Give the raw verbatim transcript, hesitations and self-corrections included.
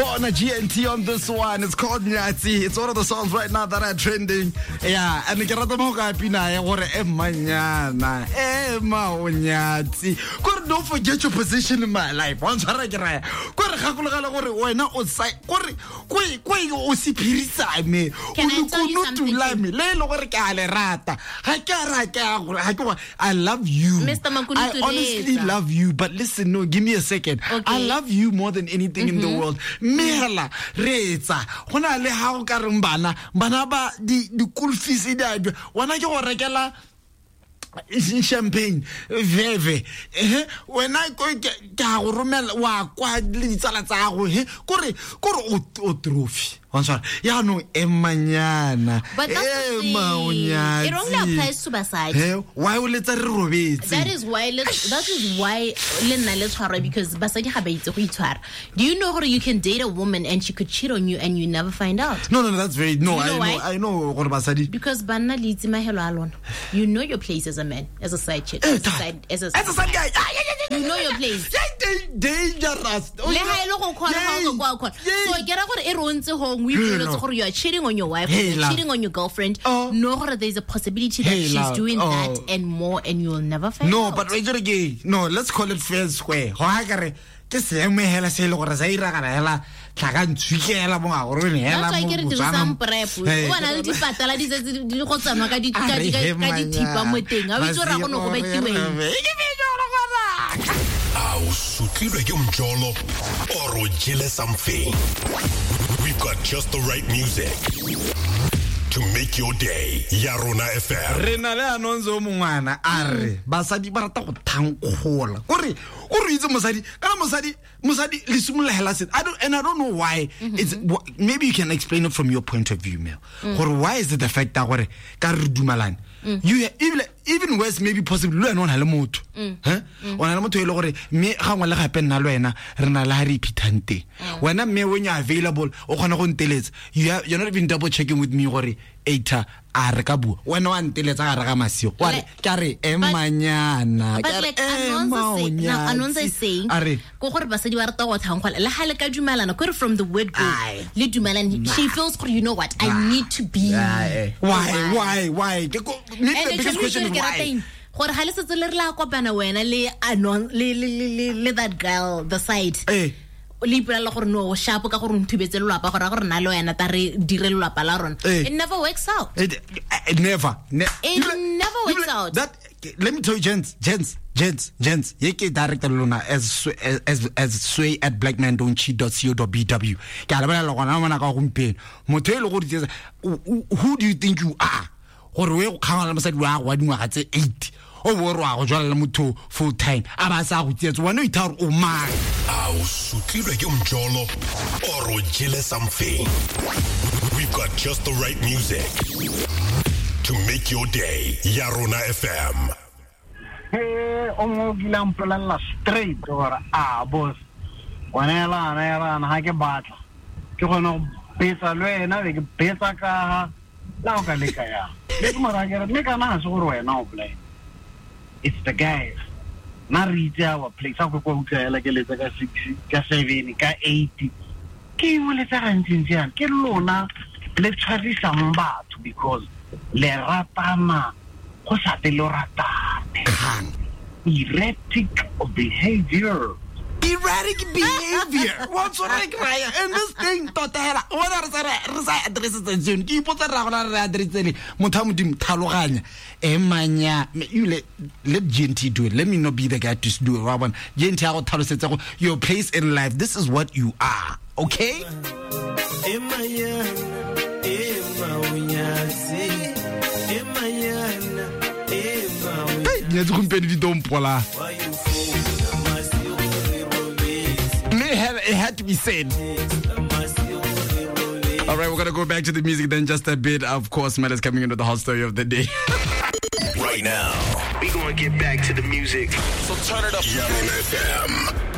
Bona G N T on this one. It's called Nyatsi. It's one of the songs right now that are trending. Yeah, and ke rata mo ka pina ya gore e manyana, e ma o nyatsi. Gore don't forget your position in my life. Wa ntshwara ke raya. Gore gakologela gore wena o sa gore kwe kwe o se phirisa me. O lokunutu la me. Le le gore ke a le rata. Ga ke a ra ke a gore ga ke I love you. Mister Makunutu, I honestly love you, but listen, no, give me a second. Okay. I love you more than anything mm-hmm. in the world. Mehela reetsa go na le ha o ka reng bana bana ba di di school fees di a wena ke go rekela champagne veve eh wena ke ka go romela wa kwa le ditsala tsa go he kore kore o trophy wa ntshwara ya no emanyana e maonyana it only applies to basadi he why o letsa re robetse that is why that is why le nna le tshwarwa because basadi ga ba itse go itshwara. Do you know gore you can date a woman and she could cheat on you and you never find out? No no no that's very no you know I know I know gore basadi because banna le itse mahelo a lona. You know your place as a man, as a side chick, as a side, as a side, as a side guy. You know your place. Dangerous. Le ha ile go khona ha o go kwa. So ke ra gore e re o ntse home we feel gore you are cheating on your wife, you're cheating on your girlfriend. No gore there is a possibility that she's doing that and more and you will never find no, out. No, but wait again. No, let's call it fair square. Go ha kare ke seemo hela se le gore sa iragala hela tlhaka ntshwikela mo ga gore ne hela mo. That's why ke re dirisang prep. O bona le dipatala di tsetse di go tsamaya ka di ka di thipa mo teng. A o itse gore go ne go bakiweng. A o sutlilwe ke mjolo or o jele something? We've got just the right music to make your day. Ya Rona F M. Re na le anonzo mongwana a re basadi ba rata go thankgola. Kore o re itse mosadi kana mosadi mosadi le simolola hela se. I don't and I don't know why. Mm-hmm. It's maybe you can explain it from your point of view, Mel. Mm. Gore why is it the fact that gore ka re dumalane? Mm. You even even worse maybe possibly le wena o na le motho. Huh? O na le motho e le gore mme ga ngwe le gape nna le wena re na le ha re iphithang teng. Wena mme when you are available o kgona go nteletsa. You are, you're not even double checking with me gore eita a re ka bua wena wa nteletsa ga re ga masio wa re ka re emanyana ka re Anonza is saying go gore basadi ba rata go thankgola le ha le ka dumalana gore from the word go le dumalana she feels gore you know what I need to be why why why the biggest question is why gore ha le setse le re la kopana wena le anon le le le that girl the side eh le ipolela gore no sharp ka gore nthubetse lelapa gore gore na le wena ta re dire lelapa la rona. It never works out. It, it never ne- it never works out. That let me tell you gents gents gents gents ye ke director lona as as as sway at blackman don't cheat dot co dot b w ke a lebela gona mona ka gompieno motho e le gore who do you think you are gore we go kgangana le mosadi wa go wa dingwaga tse eight o bo re wa go jwala le motho full time a ba sa go tsietsa wena o itha gore o mang. A o sutlilwe ke mjolo or o jele something? We've got just the right music to make your day. Ya Rona F M. Hey, o mo kila mpolela straight gore a boss wena ela na ela na ha ke batla ke gona go betsa le wena be ke betsa ka la o ka leka ya le ke mara ke re mme kana ha se gore wena o play. It's the guys. Na re itse our place. Ha go kwa utlwa hela ke letsa ka six, ka seven, ka eight. Ke eng o letsa gantsi yana? Ke lona le tshwarisang batho because le ratana go sa te lo ratane. Erratic behavior. Erratic behavior. What's right right? And this thing tota hela wena re sa re sa address tseno ke ipotsa ra gona re address le motho a modimo thaloganya emanya you let let G N T do it. Let me not be the guy to do it. Wa bona G N T a go tlhalosetsa go your place in life. This is what you are. Okay? Emanya emaunyatsi emanyana emaunyatsi. Hey, nyatsi gompieno di dompola. It had to be said. All right, we're going to go back to the music then just a bit. Of course, Mel is coming into the hot story of the day. Right now, we're going to get back to the music. So turn it up. Ya Rona F M.